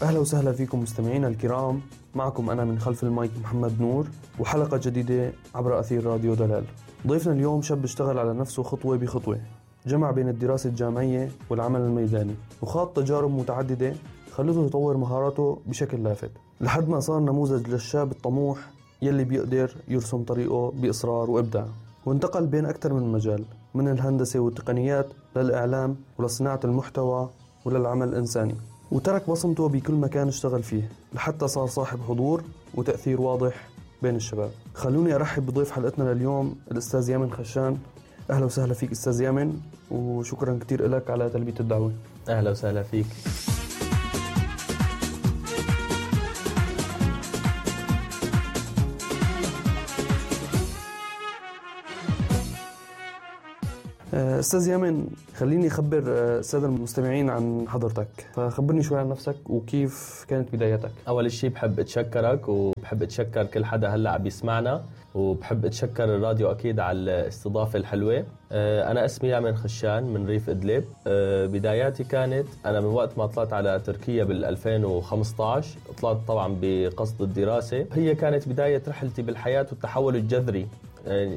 أهلا وسهلا فيكم مستمعينا الكرام. معكم أنا من خلف المايك محمد نور، وحلقة جديدة عبر أثير راديو دلال. ضيفنا اليوم شاب اشتغل على نفسه خطوة بخطوة، جمع بين الدراسة الجامعية والعمل الميداني، وخاض تجارب متعددة خلته يطور مهاراته بشكل لافت لحد ما صار نموذج للشاب الطموح يلي بيقدر يرسم طريقه بإصرار وإبداع. وانتقل بين أكثر من مجال، من الهندسة والتقنيات للإعلام ولصناعة المحتوى وللعمل الإنساني، وترك بصمته بكل مكان اشتغل فيه لحتى صار صاحب حضور وتأثير واضح بين الشباب. خلوني أرحب بضيف حلقتنا لليوم الأستاذ يامن خشان. أهلا وسهلا فيك أستاذ يامن، وشكرا كتير لك على تلبية الدعوة. أهلا وسهلا فيك. أستاذ يامن، خليني أخبر السادة المستمعين عن حضرتك، فخبرني شوي عن نفسك وكيف كانت بدايتك. أول شيء بحب أتشكرك، وبحب أتشكر كل حدا هلأ عم يسمعنا، وبحب أتشكر الراديو أكيد على الاستضافة الحلوة. أنا اسمي يامن خشان من ريف إدلب. بداياتي كانت أنا من وقت ما طلعت على تركيا بال2015. طلعت طبعا بقصد الدراسة، هي كانت بداية رحلتي بالحياة والتحول الجذري.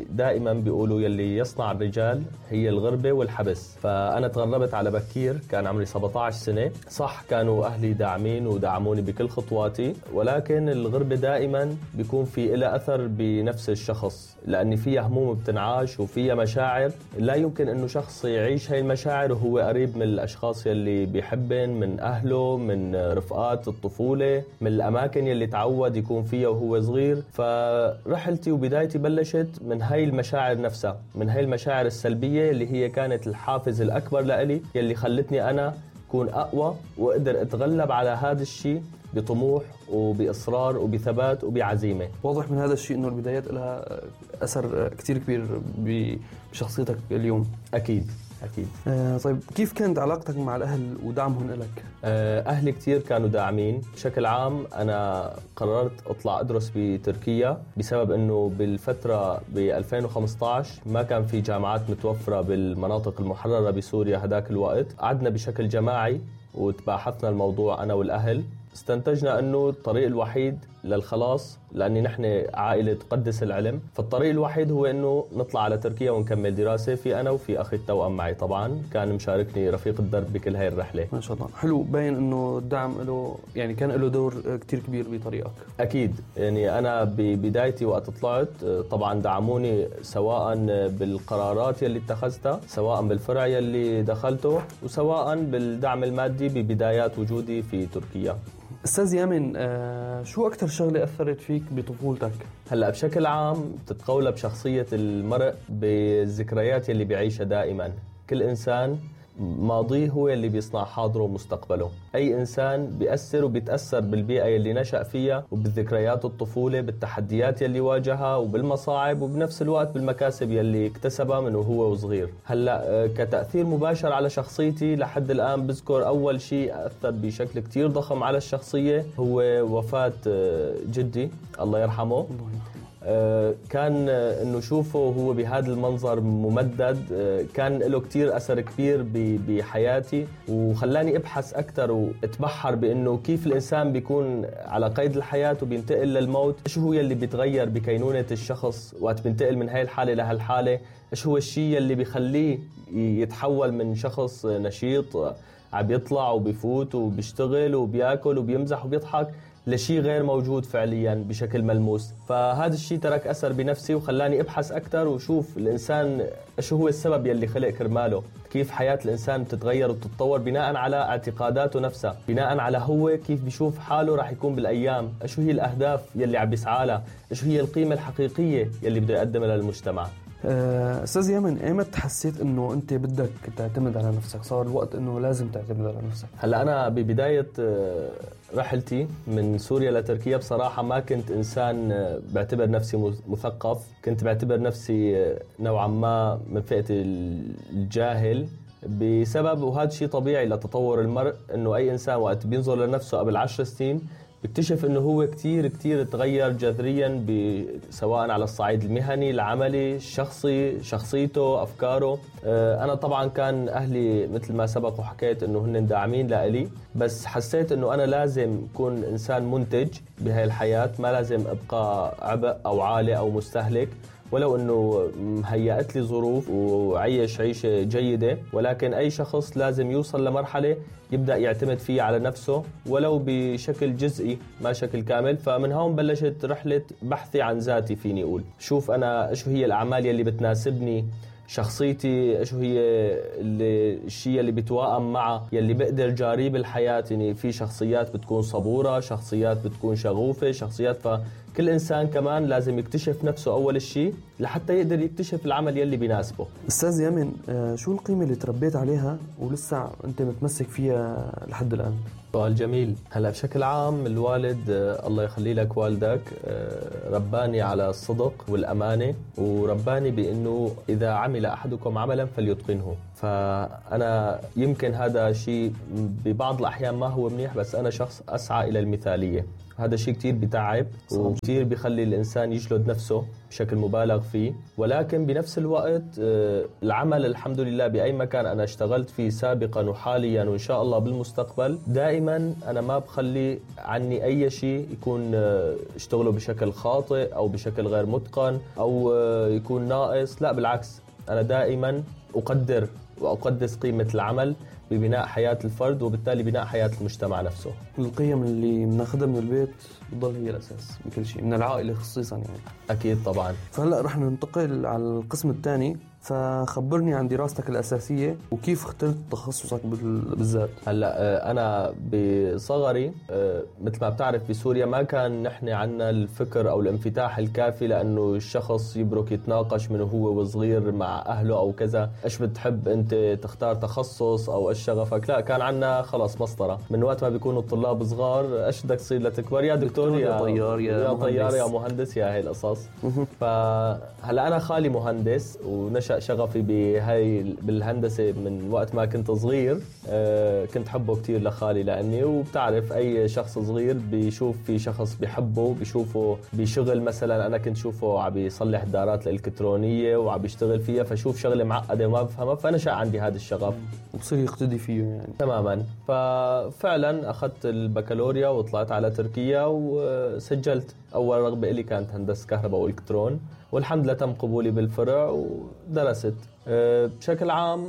دائما بيقولوا يلي يصنع الرجال هي الغربة والحبس، فأنا تغربت على بكير، كان عمري 17 سنة. صح كانوا أهلي داعمين ودعموني بكل خطواتي، ولكن الغربة دائما بيكون في إلها أثر بنفس الشخص، لأن فيها هموم بتنعاش وفيها مشاعر لا يمكن أنه شخص يعيش هاي المشاعر وهو قريب من الأشخاص يلي بيحبن، من أهله، من رفقات الطفولة، من الأماكن يلي تعود يكون فيها وهو صغير. فرحلتي وبدايتي بلشت من هاي المشاعر نفسها، من هاي المشاعر السلبية اللي هي كانت الحافز الأكبر لإلي، يلي خلتني أنا أكون أقوى وأقدر أتغلب على هذا الشيء بطموح وبإصرار وبثبات وبعزيمة. واضح من هذا الشيء إنه البدايات لها أثر كتير كبير بشخصيتك اليوم. أكيد. طيب، كيف كانت علاقتك مع الأهل ودعمهم لك؟ أهلي كتير كانوا داعمين. بشكل عام أنا قررت أطلع أدرس بتركيا بسبب أنه بالفترة ب2015 ما كان في جامعات متوفرة بالمناطق المحررة بسوريا هداك الوقت. قعدنا بشكل جماعي وتباحثنا الموضوع أنا والأهل، استنتجنا أنه الطريق الوحيد للخلاص، لأني نحن عائلة تقدس العلم، فالطريق الوحيد هو أنه نطلع على تركيا ونكمل دراسة. في أنا وفي أخي التوأم معي طبعا، كان مشاركني رفيق الدرب بكل هاي الرحلة. ما شاء الله، حلو. باين أنه الدعم له يعني كان له دور كتير كبير بطريقك. أكيد. يعني أنا ببدايتي وقت طلعت طبعا دعموني، سواء بالقرارات يلي اتخذتها، سواء بالفرع يلي دخلته، وسواء بالدعم المادي ببدايات وجودي في تركيا. أستاذ يامن، شو أكتر شغلة أثرت فيك بطفولتك؟ هلأ بشكل عام تتقولب شخصية المرء بالذكريات يلي بيعيشها دائما. كل إنسان ماضيه هو اللي بيصنع حاضره ومستقبله. أي إنسان بيأثر وبيتأثر بالبيئة يلي نشأ فيها، وبالذكريات الطفولة، بالتحديات يلي واجهها، وبالمصاعب، وبنفس الوقت بالمكاسب يلي اكتسبها من وهو صغير. هلأ كتأثير مباشر على شخصيتي لحد الآن بذكر أول شيء أثر بشكل كتير ضخم على الشخصية هو وفاة جدي الله يرحمه. كان انه شوفه هو بهذا المنظر ممدد كان له كتير اثر كبير بحياتي، وخلاني ابحث اكثر واتبحر بانه كيف الانسان بيكون على قيد الحياه وبينتقل للموت. ايش هو يلي بيتغير بكينونه الشخص وقت بينتقل من هاي الحاله لهالحاله؟ ايش هو الشيء يلي بيخليه يتحول من شخص نشيط عم يطلع وبيفوت وبيشتغل وبياكل وبيمزح وبيضحك لشيء غير موجود فعليا بشكل ملموس؟ فهذا الشيء ترك أثر بنفسي وخلاني أبحث أكثر وشوف الإنسان إيش هو السبب يلي خلق كرماله، كيف حياة الإنسان بتتغير وتتطور بناء على اعتقاداته نفسها، بناء على هو كيف بيشوف حاله راح يكون بالأيام، إيش هي الأهداف يلي عم بيسعى لها، إيش هي القيمة الحقيقية يلي بده يقدمها للمجتمع. أستاذ يامن، ايمت حسيت انه انت بدك تعتمد على نفسك؟ صار الوقت انه لازم تعتمد على نفسك؟ هلا انا ببداية رحلتي من سوريا لتركيا بصراحة ما كنت انسان بعتبر نفسي مثقف، كنت بعتبر نفسي نوعا ما من فئة الجاهل، بسبب وهذا شيء طبيعي لتطور المرء، انه اي انسان وقت بينظر لنفسه قبل 10 سنين بيكتشف انه هو كتير تغير جذريا سواء على الصعيد المهني، العملي، الشخصي، شخصيته، افكاره. انا طبعا كان اهلي مثل ما سبق وحكيت انه هن داعمين لإلي، بس حسيت انه انا لازم اكون انسان منتج بهاي الحياة، ما لازم ابقى عبء او عالة او مستهلك، ولو انه هيأت لي ظروف وعيش عيشة جيدة، ولكن اي شخص لازم يوصل لمرحلة يبدأ يعتمد فيه على نفسه ولو بشكل جزئي ما شكل كامل. فمن هون بلشت رحلة بحثي عن ذاتي، فيني اقول شوف انا شو هي الاعمال يلي بتناسبني، شخصيتي شو هي الشيء اللي بتوائم معه، يلي بقدر جاري بالحياة. يعني في شخصيات بتكون صبورة، شخصيات بتكون شغوفة، شخصيات، فكل إنسان كمان لازم يكتشف نفسه أول الشيء لحتى يقدر يكتشف العمل يلي بيناسبه. أستاذ يامن، شو القيمة اللي تربيت عليها ولسه أنت متمسك فيها لحد الآن؟ سؤال جميل. هلا بشكل عام الوالد الله يخلي لك والدك رباني على الصدق والأمانة، ورباني بأنه إذا عمل أحدكم عملا فليتقنه. فأنا يمكن هذا شيء ببعض الأحيان ما هو منيح، بس أنا شخص أسعى إلى المثالية. هذا شيء كتير بتعب وكتير بيخلي الإنسان يجلد نفسه بشكل مبالغ فيه، ولكن بنفس الوقت العمل الحمد لله بأي مكان أنا اشتغلت فيه سابقا وحاليا وإن شاء الله بالمستقبل، دائما أنا ما بخلي عني أي شيء يكون اشتغله بشكل خاطئ أو بشكل غير متقن أو يكون ناقص. لا بالعكس، أنا دائما أقدر وأقدس قيمة العمل ببناء حياة الفرد وبالتالي بناء حياة المجتمع نفسه. القيم اللي بناخذها من البيت بتضل هي الأساس بكل شيء، من العائلة خصيصا يعني. أكيد طبعا. فهلأ رح ننتقل على القسم الثاني، فخبرني عن دراستك الأساسية وكيف اخترت تخصصك بالذات. هلا أنا بصغري مثل ما بتعرف بسوريا ما كان نحن عنا الفكر أو الانفتاح الكافي لأنه الشخص يبرك يتناقش من هو وصغير مع أهله أو كذا، إيش بتحب أنت تختار تخصص أو إيش شغفك. لا، كان عنا خلاص مسطرة من وقت ما بيكونوا الطلاب صغار، إيش بدك تصير لتكبر؟ يا دكتور يا طيار يا طيار يا مهندس، يا هاي القصص. فهلا أنا خالي مهندس ونشأ شغفي بالهندسة من وقت ما كنت صغير. كنت حبه كتير لخالي لأني، وبتعرف أي شخص صغير بيشوف في شخص بيحبه، بيشوفه بشغل. مثلا أنا كنت شوفه عم بيصلح دارات الإلكترونية وعم بيشتغل فيها، فشوف شغلة معقدة وما بفهمها، فنشأ عندي هذا الشغف وبصير يقتدي فيه يعني. تماما. ففعلا أخذت البكالوريا وطلعت على تركيا وسجلت. أول رغبة إلي كانت هندسة كهرباء وإلكترون، والحمد لله تم قبولي بالفرع ودرست. بشكل عام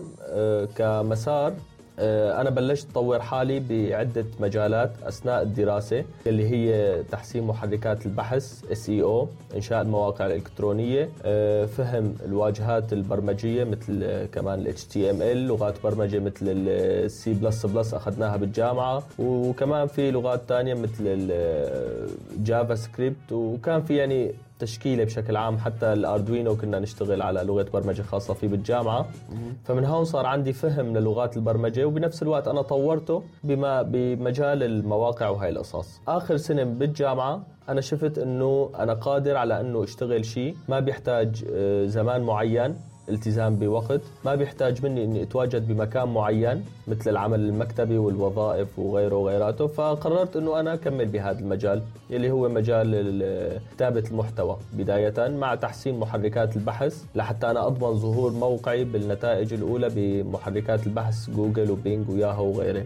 كمسار أنا بلشت أطور حالي بعدة مجالات أثناء الدراسة، اللي هي تحسين محركات البحث SEO، إنشاء المواقع الإلكترونية، فهم الواجهات البرمجية مثل كمان HTML، لغات برمجة مثل C++ أخذناها بالجامعة، وكمان في لغات تانية مثل جافا سكريبت، وكان في يعني تشكيله بشكل عام. حتى الأردوينو كنا نشتغل على لغة برمجة خاصة فيه بالجامعة. فمن هون صار عندي فهم للغات البرمجة، وبنفس الوقت أنا طورته بمجال المواقع وهي القصص. آخر سنة بالجامعة أنا شفت أنه أنا قادر على أنه اشتغل شيء ما بيحتاج زمان معين، التزام بوقت، ما بيحتاج مني اني اتواجد بمكان معين مثل العمل المكتبي والوظائف وغيره وغيراته. فقررت انه انا اكمل بهذا المجال اللي هو مجال كتابة المحتوى بداية، مع تحسين محركات البحث لحتى انا اضمن ظهور موقعي بالنتائج الاولى بمحركات البحث جوجل وبينج وياهو وغيره.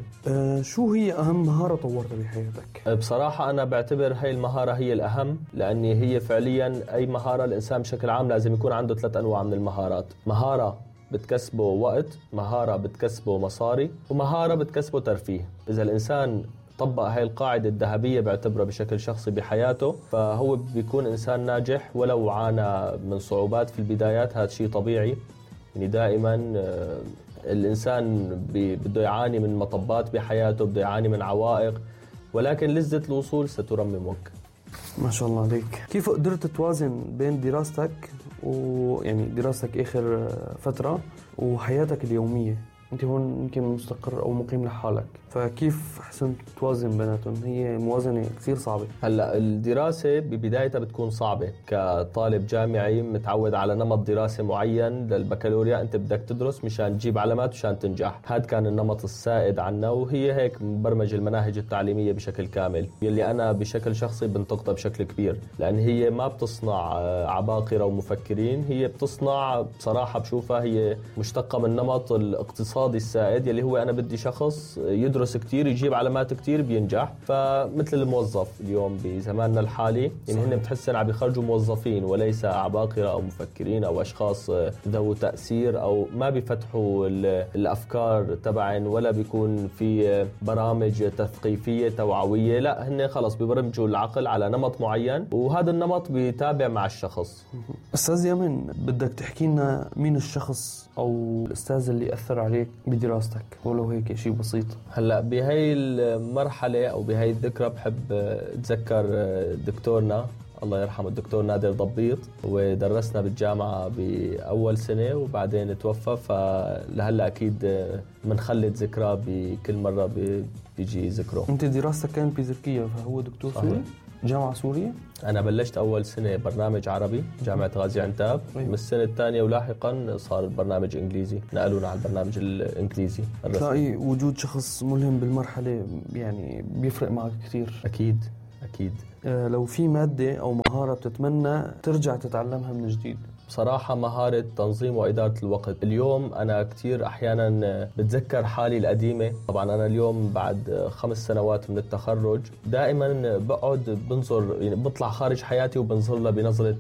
شو هي اهم مهارة طورتها بحياتك؟ بصراحة انا بعتبر هاي المهارة هي الاهم، لاني هي فعليا اي مهارة الانسان بشكل عام لازم يكون عنده 3 أنواع من المهارات. مهارة بتكسبه وقت، مهارة بتكسبه مصاري، ومهارة بتكسبه ترفيه. إذا الإنسان طبق هاي القاعدة الذهبية بعتبره بشكل شخصي بحياته، فهو بيكون إنسان ناجح ولو عانى من صعوبات في البدايات. هذا شيء طبيعي، يعني دائما الإنسان بده يعاني من مطبات بحياته، بده يعاني من عوائق، ولكن لذة الوصول سترممك. ما شاء الله عليك. كيف قدرت توازن بين دراستك ويعني دراستك آخر فترة وحياتك اليومية؟ أنت هون يمكن مستقر أو مقيم لحالك، فكيف حسنت توازن بيناتهم؟ هي موازنة كثير صعبة. هلا الدراسة ببدايتها بتكون صعبة. كطالب جامعي متعود على نمط دراسي معين للبكالوريا، أنت بدك تدرس مشان تجيب علامات مشان تنجح. هذا كان النمط السائد عنا، وهي هيك مبرمج المناهج التعليمية بشكل كامل، يلي أنا بشكل شخصي بنتقدها بشكل كبير، لأن هي ما بتصنع عباقرة ومفكرين، هي بتصنع بصراحة بشوفها هي مشتقة من نمط الاقتصادي السائد، يلي هو أنا بدي شخص يدرس كتير يجيب علامات كتير بينجح. فمثل الموظف اليوم بزماننا الحالي، يعني هن بتحسن عم يخرجوا موظفين وليس عباقرة أو مفكرين أو أشخاص ذو تأثير، أو ما بيفتحوا الأفكار تبعن ولا بيكون في برامج تثقيفية توعوية. لا، هن خلص بيبرمجوا العقل على نمط معين، وهذا النمط بيتابع مع الشخص. أستاذ يمن، بدك تحكي لنا مين الشخص أو الأستاذ اللي أثر عليك بدراستك ولو هيك شيء بسيط؟ هلأ بهاي المرحلة أو بهاي الذكرى بحب أتذكر دكتورنا الله يرحمه، الدكتور نادر ضبيط، ودرسنا بالجامعة بأول سنة وبعدين توفى. فلهلا أكيد منخلد ذكرى بكل مرة بيجي ذكره. أنت دراستك كانت بتركيا، فهو دكتور سوري؟ جامعة سورية؟ أنا بلشت أول سنة برنامج عربي جامعة غازي عنتاب. من السنة الثانية ولاحقا صار البرنامج إنجليزي، نقلونا على البرنامج الإنجليزي. تلاقي وجود شخص ملهم بالمرحلة يعني بيفرق معك كثير. أكيد أكيد. لو في مادة أو مهارة بتتمنى ترجع تتعلمها من جديد؟ بصراحة مهارة تنظيم وإدارة الوقت. اليوم أنا كتير أحيانا بتذكر حالي القديمة. طبعا أنا اليوم بعد 5 سنوات من التخرج دائما بقعد بنظر، يعني بطلع خارج حياتي وبنظر لها بنظرة